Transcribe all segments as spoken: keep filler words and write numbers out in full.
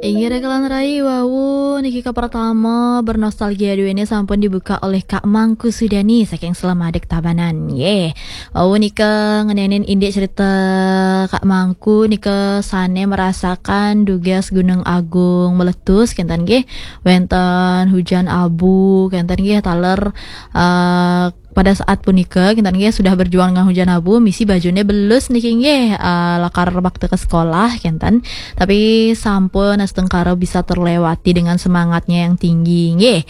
Inggih rekalan rai, wau niki ka pertama bernostalgia duene sampun dibuka oleh Kak Mangku Sudani saking Selamadek Tabanan. Nggih. Wau nika ngenenin indik cerita Kak Mangku nika sane merasakan dugas Gunung Agung meletus kenten nggih. Wenten hujan abu kenten nggih taler, eh, pada saat punika kenten nggih sudah berjuang dengan hujan abu, misi bajune belus niki nggih, eh, lakar bakti ke sekolah kenten. Tapi sampun astungkara bisa terlewati dengan semangatnya yang tinggi nggih.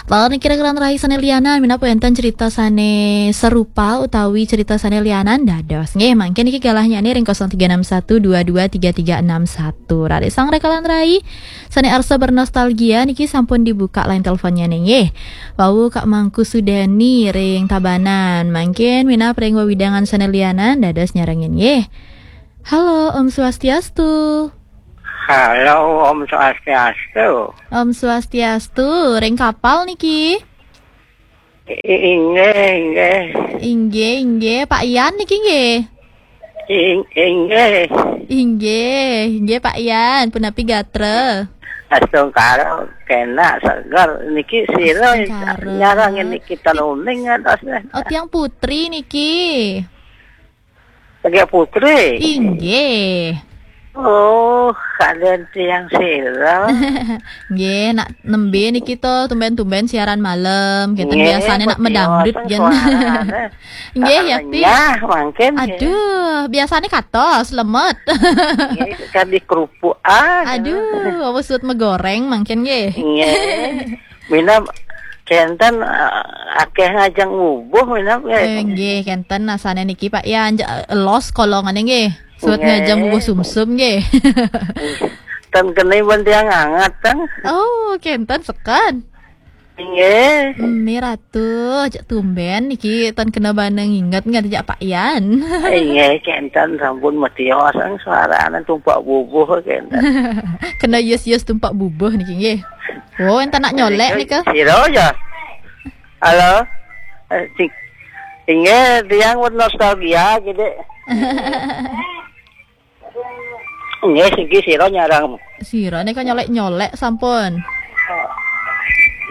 Lalu niki rekalan rai sane lianan, minapa enten cerita sane serupa utawi cerita sane lianan dados nggih. Mangkin niki galahnya ring kosong tiga enam satu dua dua tiga tiga enam satu. Rari sang rekalan rai sane arsa bernostalgia niki sampun dibuka line teleponnya nih nggih. Wau Kak Mangku Sudani ring Tabanan. Mangkin minab ring wewidangan sane lianan dados nyarengin nggih. Halo, Om Swastiastu. Halo, Om Swastiastu. Om Swastiastu, ring kapal niki. I-, inggih, inggih. Inggih, inggih. Pak Yan niki nggih. Ing-, inggih. Inggih, inggih Pak Yan, punapi gatra? Astungkara kena seger niki sira. Astungkara. Nyarang niki tanuning atas. Oh, tiang putri niki. Tiang putri? Inggih. Oh, kalian tiang sira. Nggih, nak nembe niki to tumben-tumben siaran malam, kenten. Nggih, biasane nak betul, medangdut sing jen. Suarane. Nggih, ah, Yakti. Renyah mangkin, nggih. Aduh, biasane katos, lemet. Nggih, kadi kerupuk, ah. Aduh, apa suut megoreng mangkin nggih. Nggih. Mina kenten, ah, akeh ngajeng ngubuh mina nggih. Eh, nggih, kenten asane niki Pak Yan, ja-, los kolongane nggih. Suut nggih. Ngajeng ngubuh sumsum nggih. Ten kene pun tiang anget, ten. Oh, kenten seken. Inggih. Mimi Ratu, cek tumben niki tan kena bana nginget nggih jak Pak Yan. Inggih, kenten sampun mesti sang suarane tumpak bubuh kenten. Kena yes-yes tumpak bubuh niki nggih. Oh, enten nak nyolek nika. Sira ya. Halo. Eh, sing-, inggih, tiang pun nostalgia gitu. Nggih, siki sira nyarang. Sira nika nyolek-nyolek sampun.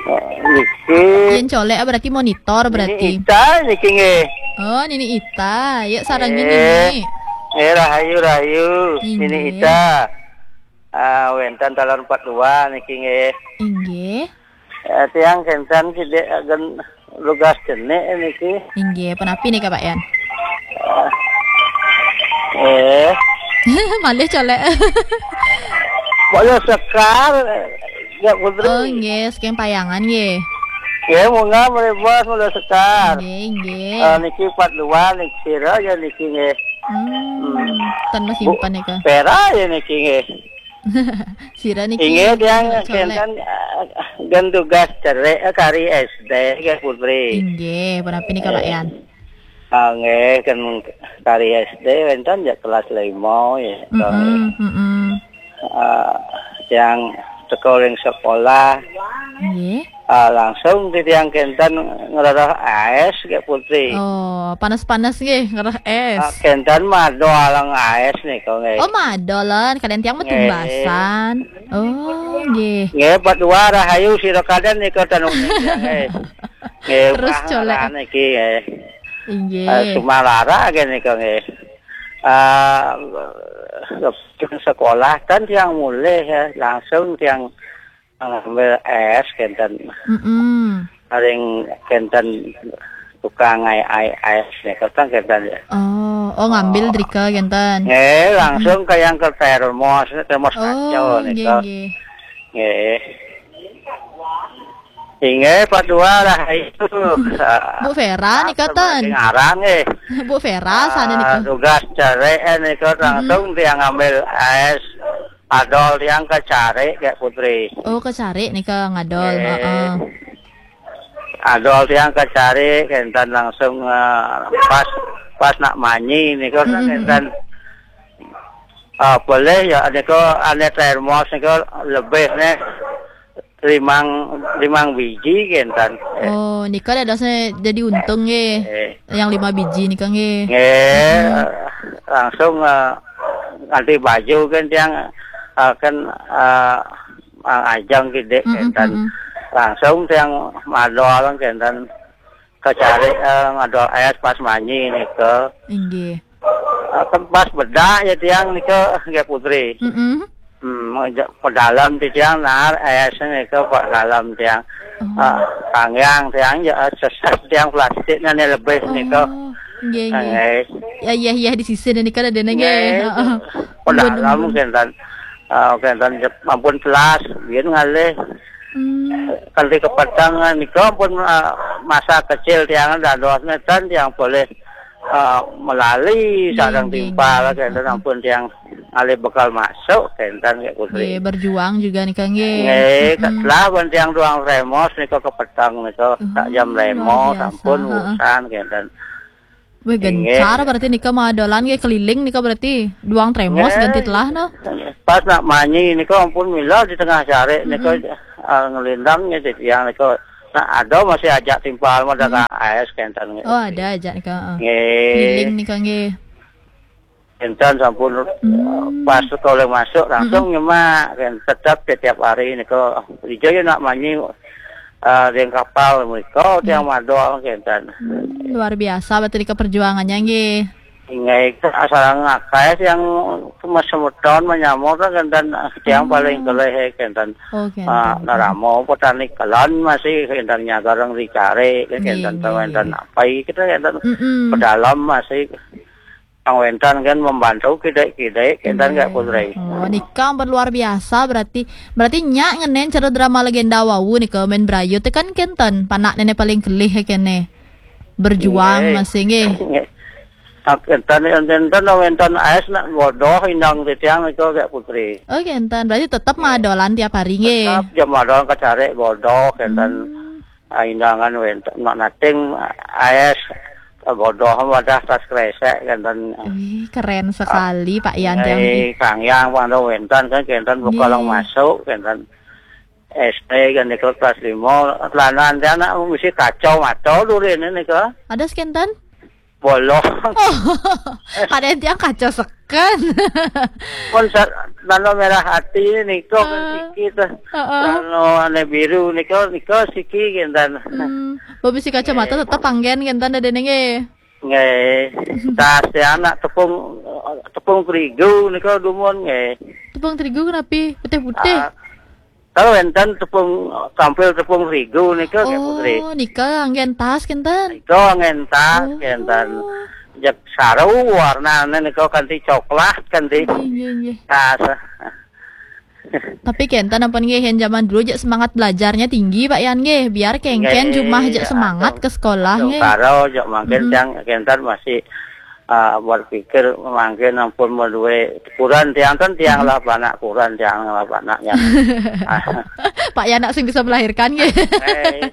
Oh, niki. Yen colek berarti monitor berarti. Nini Ita niki nggih. Oh, Nini Ita. Yuk sarengin nggih. Nini. Eh, rahayu, rahayu. Inggih. Nini Ita. Ah, wenten taler empat dua niki nggih. Inggih. Eh, tiang kenten sidik agen lugas cenik niki. Inggih, punapi nika Pak Yan? Eh. Eh. Malih colek. Mulya Sekar, ya Putri. Oh, nggih, saking Payangan nggih. Nggih, munggah mribos Mulya Sekar. Nggih, nggih. Eh, niki empat dua niki sira ya niki nggih. Hmm, hmm. Tan Bu, simpen nika. Vera ya niki nggih. Sira niki inggih, tiang colek. Kenten, eh, gen tugas cerik, eh, kari S D nggih, Putri. Inggih, punapi nika Pak Yan? Ah, nggih, kan kari S D wenten ya kelas lima ya. Mm-mm, mm-mm. Ah, tiang teka ring sekolah. Nggih. Ah, langsung titiang kenten ngrereh es nggih, Putri. Oh, panas-panas nggih, ngrereh es. Ah, kenten madol aleng es nika nggih. Oh, madolan, kalian tiang mah nggih. Tumbasan. Oh, nggih. Nggih, empat dua rahayu sira kalian nika tanuning nggih. Nggih, terus colek niki nggih. Inggih. Eh, Sumalara nggih nika nggih. Ah, sekolah kan tiang mulih ya, langsung tiang ngambil es kenten. Mm-mm. Paling kenten tukang ai, ai es nika kan kenten ya. Oh, oh, ngambil drika kenten. Nggih, langsung ke yang ke termos, termos kaca nika. Oh, nggih, nggih. Nggih. Inggih, Pak Dua rahayu. Bu Vera nika ten. Ngaran nggih. Bu Vera sana nika. Ah, tugas cerik nika langsung tiang ngambil es. Adol tiang ke carik, Kak Putri. Oh, ke carik nika ngadol, heeh. Adol tiang ke carik, kenten langsung, eh, pas, pas nak manyi nika kan kenten, ah, boleh ya, nika ane termos nika lebih nih limang, limang biji kenten. Eh. Oh, nika dadosnya jadi untung nggih. Eh. Yang lima biji nika nggih. Nggih, langsung, eh, ganti baju kan tiang Ah, kan, ah, ah, ajang gedé, mm-mm, kénten. Mm-mm. Langsung tiang madol kénten kacari, eh, ngadol és pas manyi nika. Inggih. Ah, kan pas bedah ya tiang nika, nggih Putri. Mm-mm. Hmm, ja-, pedalem ti tiang naar és nika pedalem tiang. Oh. Ah, kanggiang tiang ya, eh, sesat tiang plastiknya nih lebih nika. Oh, nggih, nggih. Nggih. Ya, ya, ya, di sisi nika ada nggih. Nggih, heeh. Pedalem, bener, bener, kénten. Ah, kénten ampun telas, biyen ngalih. Hmm. Kanti kepeteng nika ampun, ah, masa kecil tiang dados nénten tiang polih, ah, melali, nggih, sareng nggih, timpal, nggih, kénten, heeh, ampun tiang ngalih bekal masuk, kénten, nggih, Putri. Nggih, berjuang juga nika, nggih. Nggih, mm-mm, setelah pun tiang duang tremos nika kepeteng nika, uh, sak jam tremos, luar biasa, ampun, heeh, urusan, kénten. Wih, inggih, gencar berarti nika madolan nggih keliling nika berarti. Duang tremos, nggih, ganti telah, no? Pas nak manyi nika ampun mila di tengah cari nika, mm-mm, ah, ngelindang nggih tiang nika. Nah, ada masih ajak timpal mah dagang, mm-mm, és kénten nggih. Oh, ada ajak nika, heeh. Nggih. Keliling nika nggih. Kénten sampun, hmm, pas sekolah masuk langsung, mm-mm, nyemak, kan tetap setiap hari nika. Ijo ya nak manyi, eh, ring kapal mriko, tiang, hmm, madol kénten. Hmm, luar biasa berarti nika perjuangannya nggih. Inggih, asal ngakai yang semeton menyamur kan kénten, tiang, hmm, paling kelih kénten. Oh, kénten. Ah, naramo petani kelon masih kénten nyagareng dicari, kénten, nggih, nggih, wénten, nggih, apa kita kénten, mm-mm, pedalem masih. Yang wénten kan membantu kidé-kidé, kénten nggih, nggih, Putri. Oh, nika ampun luar biasa berarti. Berarti nyak ngenén cara drama legenda wau nika main berayu téh kan kénten. Panak néné paling kelih kéné. Berjuang, nggih, masih nggih. Nggih. Nah, kénten, kénten wénten és nak bodoh indang titiang nika nggih, Putri. Oh, kénten. Berarti tetap, nggih, madolan tiap hari nggih. Tetap jam madolan kacari bodoh kénten. Hmm. Ah, indangan wénten, nak nating, ah, és, ah, bodoh wadah tas kresek, kénten. Wih, keren sekali, Pak Yan, tiang, eh, nggih. Kanggiang pang wénten kan, kénten, nggih, bekaleng masuk, kénten. S D kan di kelas lima, lanang tiang nak mesti kacau mata dulu ini nika. Ada kénten? Bolong. Oh, kadén tiang kaca seken. Pun sa-, nano merah hati nika kan, ah, siki tuh. Heeh. Nano ane biru nika, nika siki kénten. Hmm. Bobisi kacamata, eh, tetep anggén kénten dadéné nggih. Nggih. Tas ya anak tepung, tepung terigu nika dumun nggih. Tepung terigu kenapi? Putih-putih. Ah, Kalau wénten tepung, tampil tepung terigu nika, nggih, Putri. Oh, nika anggén tas kénten? Nika anggén tas, oh, kénten. Jeg saru warnane nika kanti coklat, kanti. Nggih, nggih, nggih. Tas. Tapi kénten ampun nggih, yén zaman dulu jeg semangat belajarnya tinggi, Pak Yan, nggih. Biar kéngkén, nggih, jumah jeg semangat ke sekolah, nggih. Karo jeg mangkin, mm-mm, tiang kénten masih ah, berpikir mangkin ampun madué kurenan tiang kan, tiang, mm-mm, lah panak kurenan tiang lah panaknya. Pak Yan nak sing bisa melahirkan nggih. Eh, heeh.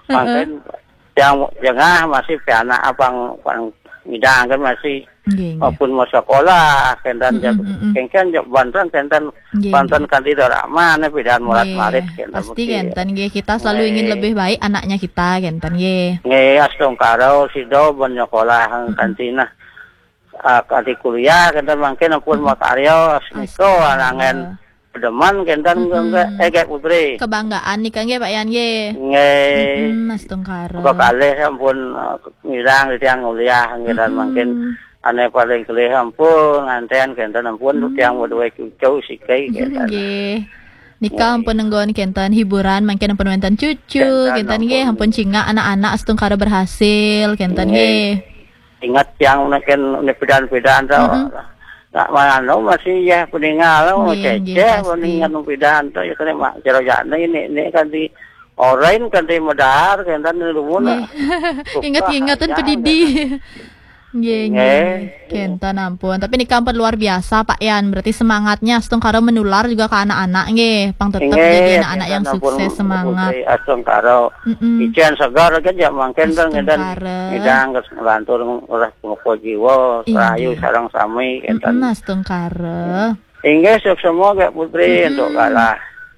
Mangkin tiang jengah masih pianak apang pang ngidang kan masih, nggih, nggih, maupun mau sekolah kénten, mm-mm, jeg, mm-mm, kéngkén jeg banten kénten. Nggih, banten nggih. Kanti doramane pidan murid-marid, nggih, kénten pasti mesti. Kénten nggih, kita selalu ingin, nggih, lebih baik anaknya kita, kénten nggih. Nggih, astungkara sida ben nyekolah, mm-mm, kanti nah. Ah, kanti kuliah, kénten mangkin ampun, mm-mm, makarya, nika, astaga, anangan pedeman, kénten, mm-mm, nggih, eh, nggih, Putri. Kebanggaan nika nggih, Pak Yan nggih. Nggih. Mm-mm, astungkara. Kekalih ampun, eh, ngirang tiang kuliah, nggih, dan, mm-mm, mangkin ane paling kelih ampun, nganten kénten ampun, hmm, tiang madué cucu siki kénten. Nggih. Nika, nggih, ampun nenggon kénten hiburan, mangkin ampun wénten cucu, kénten, kénten nggih, ampun, ampun cingak anak-anak astungkara berhasil, kénten, nggih, nggih. Ingat tiang mangkin pidan-pidan to. Mm-mm. Nak mananu masih ya peninggal, nggih, nggih, ceceh, pasti. Peninggal pidan to, ya kena mak jero jane ini, ini kan di orain kan di medar, kénten di rumah. Nggih. Ingat-ingatan pedidi. Nggih, nggih, nggih. Kénten ampun. Tapi nika ampun luar biasa, Pak Yan. Berarti semangatnya astungkara menular juga ke anak-anak, nggih. Pang tetep, nggih, jadi anak-anak yang sukses, semangat. Putri astungkara. Mm-mm. Icén segar kan ya mangkin kan ngénten. Astungkara. Ngidang geus ngelantur ngurah pengepo jiwa, inggih, rahayu sareng sami kénten. Mm-mm, astungkara. Inggih, suksma nggih Putri, mm-mm, untuk kalah.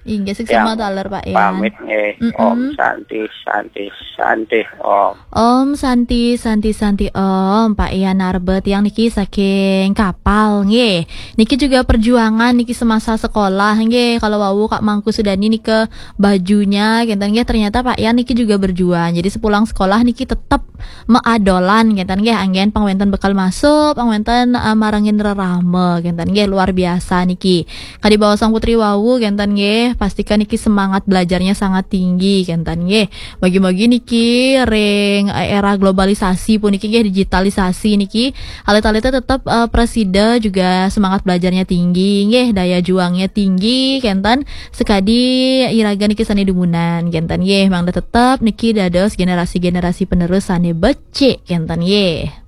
Inggih, suksma taler, Pak Yan. Pamit nggih. Mm-mm. Om Santi, Santi, Santi, Om. Om Santi, Santi, Santi, Om. Pak Yan Narba tiang niki saking Kapal nggih. Niki juga perjuangan niki semasa sekolah nggih. Kalau wau Kak Mangku Sudani niki bajunya kenten nggih, ternyata Pak Yan niki juga berjuang. Jadi sepulang sekolah niki tetep meadolan kenten nggih, anggen pangwenten bekal masuk, pangwenten uh, marengin rerama kenten nggih, luar biasa niki. Kadi baosang Putri wau kenten nggih, pastikan niki semangat belajarnya sangat tinggi kenten nggih. Bagi-bagi niki ring eh, era globalisasi puniki nggih, digitalisasi niki, alit-alite tetep eh, presida juga semangat belajarnya tinggi nggih, daya juangnya tinggi kenten. Sekadi iraga niki sane dumunan kenten nggih, mangda tetep niki dados generasi-generasi penerus sane becik kenten nggih.